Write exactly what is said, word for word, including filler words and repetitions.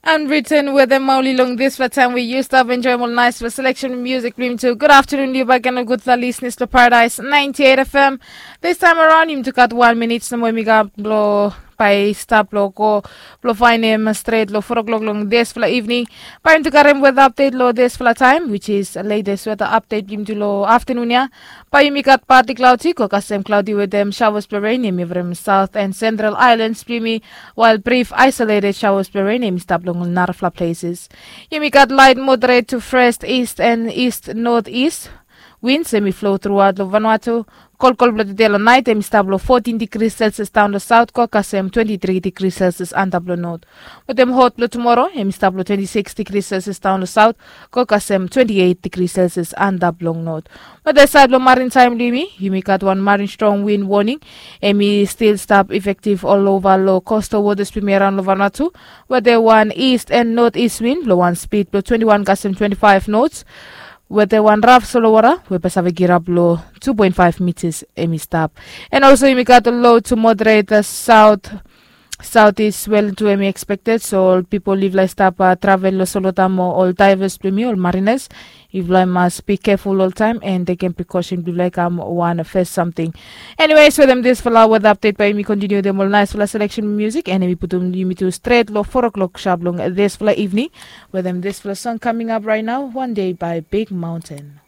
Unwritten wetem Mauli long dispela taim we yu stap enjoim ol naispela selection musik blong yumi tu. Good afternoon, yu baik and gutpela listeners to Paradise ninety-eight F M. This time around, yumi tu gat one minutes nomo yumi gat blo bai stap lo go blo fainim stret lo four o'clock long dispela evening. Bai yumi tu karim weather update lo dispela taim, which is latest weather update blong yumi tu lo afternoon ya. Bai yumi gat partly cloudy, go kasem cloudy wetem showers blo rain yumi from south and central islands blong yumi, while brief isolated showers blo rain yumi stap long narafla places. Yumi gat light moderate to fresh east and east northeast winds em i flow throughout lo Vanuatu. Kolkol blo today lo night em i stap lo fourteen degrees Celsius down lo south, go kasem twenty-three degrees Celsius antap lo north. Wetem hot blo tomorrow em i stap lo twenty-six degrees Celsius down lo south, go kasem twenty-eight degrees Celsius antap long north. Wetem side blo marin taim blong yumi, yumi gat wan marin strong wind warning. Em i stil stap effective all over lo coastal waters blong yumi around lo Vanuatu. Wetem wan east and northeast wind blo wan speed blo twenty-one kasem twenty-five knots. Wetem wan raf solowara we bai save kirap lo two point five meters em i stap. And also yumi gat low to moderate south southeast swell tu em i expected, so ol pipol yufala i stap travel lo solota mo ol divers blong yumi, ol mariners, yufala i mas be careful oltaim and taken precaution blong yufala i kam wan fes samting. Anyways, wetem dispela weather update bai yumi continue wetem ol naispela selection music and em i putum yumi tu stret lo four o'clock sharp long dispela evening. Wetem dispela song coming up right now, One Day by Big Mountain.